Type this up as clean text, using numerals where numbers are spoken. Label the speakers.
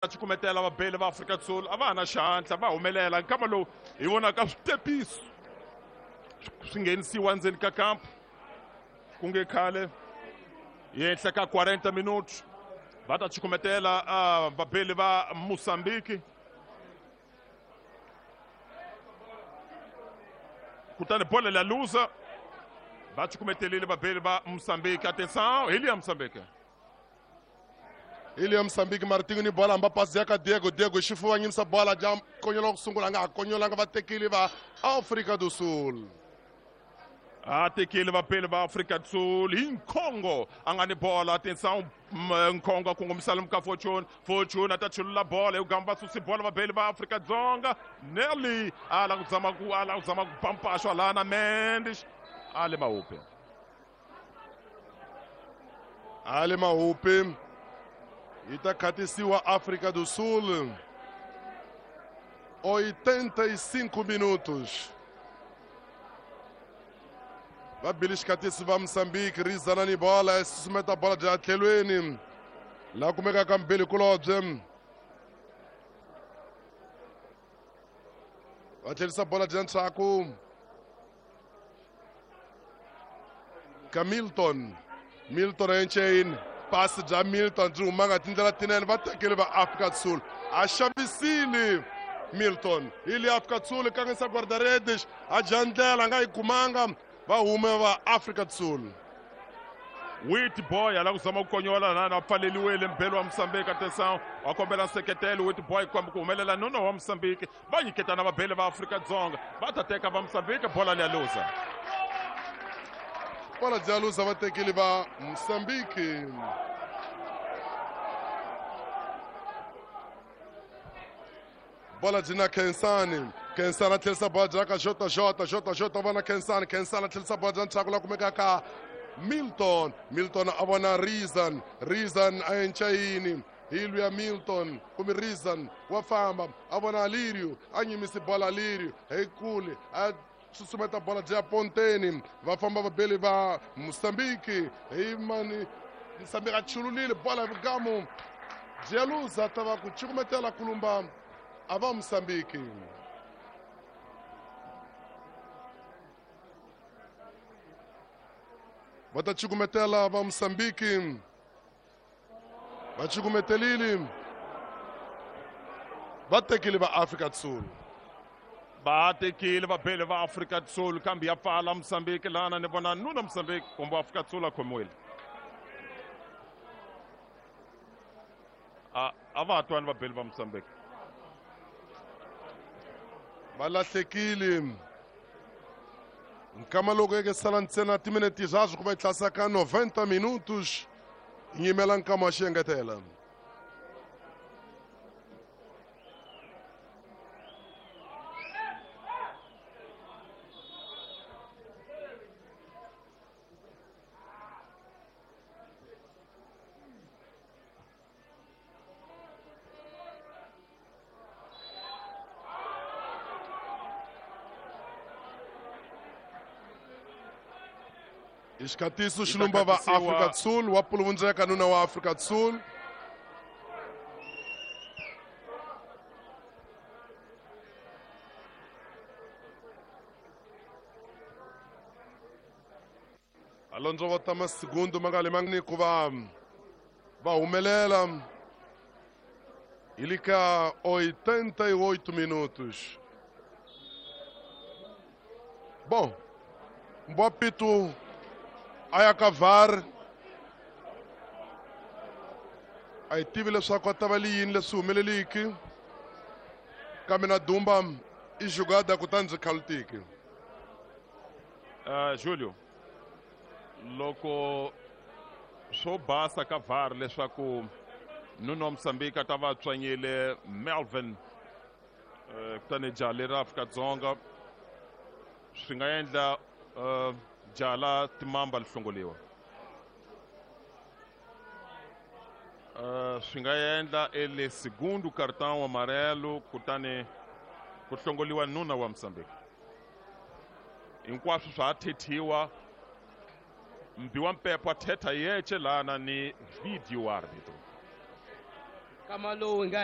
Speaker 1: Cukumetela vabeli va Afrika Sul a va ha na xihatla va humelela nkama lowu hi vonaka switepiso swi nghenisiwa ndzeni ka kampu ku nge khale henhla ka 40 minutos va ta cukumetela vabeli va Mozambique kutani bola la luza va cukumetelile vabeli va Mozambique. Atenção, ele é Mozambique.
Speaker 2: Ili ya Mozambique Martinho ni bola hamba pasi ya ka Diego. Diego xifuva nyimisa bola ja konyola ku sungula nga ha konyolanga va tekile va Afrika do Sul.
Speaker 1: A tekile vapeli va Afrika do Sul hi Nkhongo a nga ni bola. Atenção, Nkhongo a kongomisa lomu ka Fortune. Fortune a ta chulula bola hi ku gamba susi bola vabeli va Afrika Dzonga. Nelly a la ku zama ku a la ku zama ku pampaxwa lana Mendes a le mahupe.
Speaker 2: A le mahupe. Yi ta khatisiwa Afrika do Sul. 85 minutos. Va bile xikhatisi va Mozambique rizana ni bola susumeta bola bya tlhelweni la kumekaka mbili kulobye va tlherisa bola bya ndzhaku ka Milton. Milton Enchain pasi bya Milton byi humanga tindlela tinene va tekele va Afrika Sul a xavisile Milton hi le Afrika Sul kangisa guarda-redes a dya ndlela a nga yi kumanga va hume va Afrika Sul.
Speaker 1: Wit Boy ala ku zama ku konyola lana a pfaleliwile mbhelo wa Mozambique. Atenção, wa kombela nseketelo Wit Boy kwamba ku humelela nono wa Mozambique va nyiketana vabeli va Afrika Dzonga va ta teka va Mozambique bola liya luza.
Speaker 2: Bola bya luza va tekile va Mozambique. Bola byi na Khensani. Khensani a tlherisa bola bya ka Jota Jota Jota Jota vona Khensani. Khensani a tlherisa bola bya ndzhaku la kumekaka Milton. Milton a vona Reason. Reason a enchayini hi luya Milton kumbe Reason wa famba a vona Alirio a nyimisi bola Alirio hi kule a susumeta bola bya Ponteni va famba vabeli va Mozambique hi mani Mozambique a chululile bola hi vugamu bya luza ta va ku cukumetela kulumba a va Mozambique. Va ta cukumetela va Mozambique va cukumetelile va tekile va Afrika Sul.
Speaker 1: Va tekile vabeli va Afrika Sul kambe ya pfala Mozambique lana ni vona nuna Mozambique kumbe Afrika Sul a khomiwile. A va twani vabeli va Mozambique.
Speaker 2: Va lahlekile nkama loko eke sala ntsena timinete swaswo ku va yi tlasa ka 90 minutos nyimela nkama wa xiengetela. Xikatiso xilumba va Afrika Sul wa puluvundzeka nuna wa Afrika Sul. Alonso va tama segundo ma nga le mangni ku va va humelela hi le ka 88 minutos. Bom, Mbwapitu a ya ka VAR a yi tivi leswaku a ta va li yini leswi humeleliki kambe na Dumba i jugada kutani byi khalutiki.
Speaker 1: Julio, loko swo basa ka VAR leswaku nuna wa Mozambique a ta va tswanyile Melvin kutani jaha leri Afrika-Dzonga swi nga endla jaha la timamba li hlongoliwa. Swi nga endla ele segundo cartão amarelo kutani ku hlongoliwa nuna wa Mozambique. Hinkwaswo swa ha thethiwa mbi wa mpepho a thetha yece lana ni video arbitro.
Speaker 3: Nkama lowu hi nga.